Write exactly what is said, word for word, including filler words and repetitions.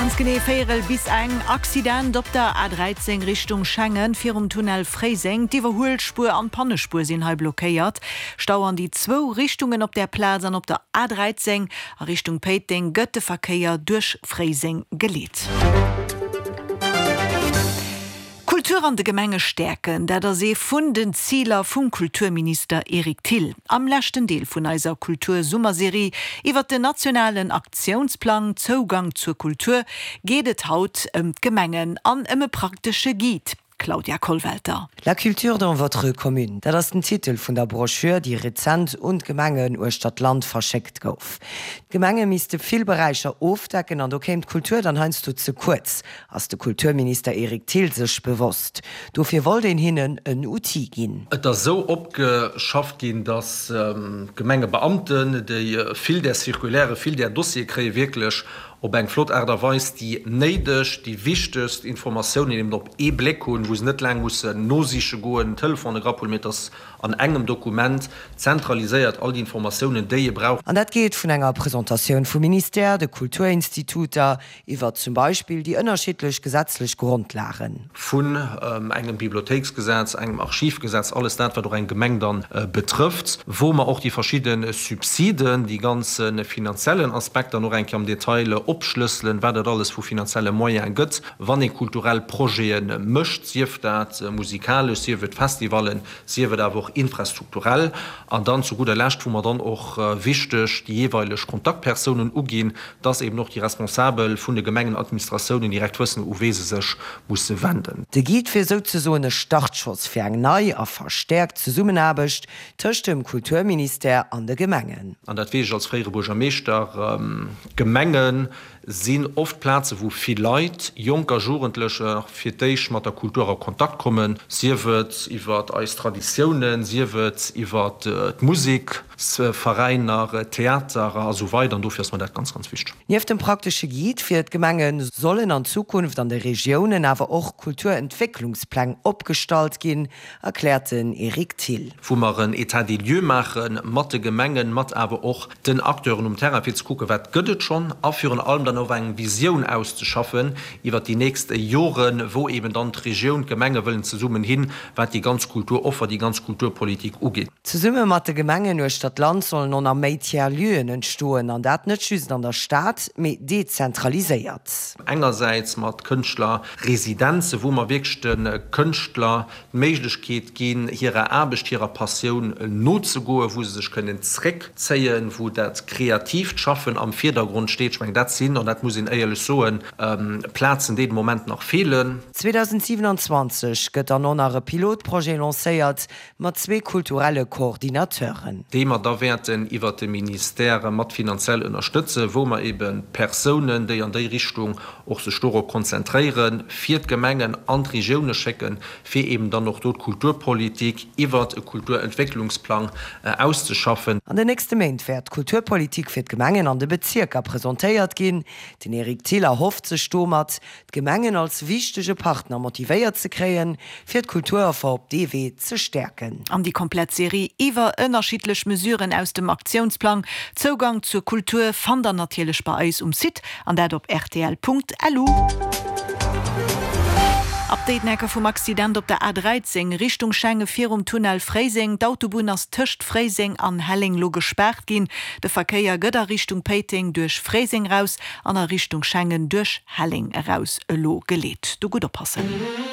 Ganz genee véierel bis eng. Accident op der A dräizéng Richtung Schengen virum Tunnel Fréiseng. D'Iwwerhuelspuer an d'Pannespuer sinn hei blockéiert. Stau an déi zwou Richtungen op der Plaz an op der A dräizéng a Richtung Péiteng gëtt de Verkéier duerch Fréiseng geleet. Kultur an de Gemenge stäerken, dat ass ee vun den Ziler vum Kulturminister Eric Thill. Am leschten Deel vun eiser Kultur-Summerserie iwwer den nationalen Aktiounsplang Zougang zur Kultur geet et haut ëm d'Gemengen an ëm e praktesche Guide. Claudia Kollwelter. La culture dans votre commune, dat ass den Titel vun der Broschür, déi rezent un d'Gemengen uechter d'Land verschéckt gouf. D'Gemenge misste vill Beräicher ofdecken an do kéim d'Kultur dann heiansdo ze kuerz, ass de Kulturminister Eric Thill sech bewosst. Dofir wollt een hinnen en Outil ginn. Et ass esou opgeschafft ginn, dass d'Gemengebeamten, déi vill där Circulaire, vill där Dossiere kréien, wierklech op eng flott Aart a Weis déi néideg, déi wichtegst Informatiounen eben op ee Bléck hunn, wou se net laang mussen nosiche goen, den Telefon erapulen, mee dass an engem Dokument zentraliséiert all déi Informatiounen, déi ee brauch. An dat geet vun enger Presentatioun vum Ministère, de Kulturinstituter, iwwer zum Beispill déi ënnerschiddlech gesetzlech Grondlagen. Vun engem Bibliothéiksgesetz, engem Archivgesetz, alles dat, wat och eng Gemeng dann betrëfft, wou mer och déi verschidde Subsiden, déi ganz finanziellen Aspekter dann och eng Kéier am Detail opschlësselen, wat et alles vu finanzielle Moyene gëtt, wann ee kulturell Projete mécht, sief dat musikalesch, sief et Festivallen, sief et awer och infrastrukturell. An dann zu gudder Lescht, wou mer dann och wichteg déi jeeweileg Kontaktpersounen uginn, dass eben och déi Responsabel vun de Gemengenadministratiounen direkt wëssen, u wee se sech musse wenden. De Guide wier souzesoen e Startschoss fir eng nei a verstäerkt Zesummenaarbecht tëscht dem Kulturministère an de Gemengen. An dat weess ech als fréiere Buergermeeschter, D'Gemenge sinn oft Plaze wou vill Leit, Jonk a Jugendlecher, fir d'éischt mat der Kultur a Kontakt kommen, sief et iwwer eis Traditiounen, sief et iwwer d'Museksveräiner, Theater a sou weider. An dofir ass mer dat ganz, ganz wichteg. Nieft dem praktesche Guide fir d'Gemenge sollen an Zukunft an de Regiounen awer och Kulturentwécklungspläng opgestallt ginn, erkläert den Eric Thill. Wou mer en État des lieux maache mat de Gemengen, mat awer och den Acteuren um Terrain, fir ze kucken, wat gëtt et schonn, a virun allem dann och eng Visioun auszeschaffen iwwert déi nächst Joren, wou eben dann d'Regioun, d'Gemenge wëllen zesummen hin, wat déi ganz Kulturoffer, déi ganz Kulturpolitik ugeet. Zesumme mat de Gemengen uechter d'Land sollen och nach méi Tiers-lieuxen entstoen, an dat net just an der Stad, mee dezentraliséiert. Engersäits mat Kënschtlerresidenze, wou mer wierklech de Kënschtler d'Méiglechkeet ginn, hirer Aarbecht, hirer Passioun nozegoen, wou se sech kënnen zréckzéien, wou dat kreatiivt Schaffen am Virdergrond steet. Ech mengen, dat sinn, an dat muss een éierlech soen, Plazen, déi de Moment nach feelen. zweedausendsiwenanzwanzeg gëtt dann och nach e Pilotprojet lancéiert mat zwee kulturelle Coordinateuren. Déi mer da wäerten iwwert de Ministère mat finanziell ënnerstëtzen, wou mer ebe Persounen, déi an déi Richtung och sech dorop konzentréieren, fir d'Gemengen an d'Regioune schécken, fir eben dann och do d'Kulturpolitik iwwert e Kulturentwécklungsplang auszeschaffen. An den nächste Méint wäert d'Kulturpolitik fir d'Gemengen an de Bezierker presentéiert ginn. Den Eric Thill erhofft sech domat, d'Gemengen als wichtege Partner motivéiert ze kréien, fir d'Kulturoffer op dee Wee ze stäerken. An déi komplett Serie iwwer ënnerschiddlech Mesuren aus dem Aktiounsplang Zougang zur Kultur fannt der natierlech bei eis um Site, an dat op rtl.lu. Update Necker vum Accident op der A dräizéng Richtung Schengen virum Tunnel Fréiseng. D'Autobunn ass tëscht Fréiseng an Helleng lo gespaart ginn. De Verkéier gëtt a Richtung Péiteng duerch Fréiseng raus an a Richtung Schengen duerch Helleng eraus elo geleet. Do gutt oppassen.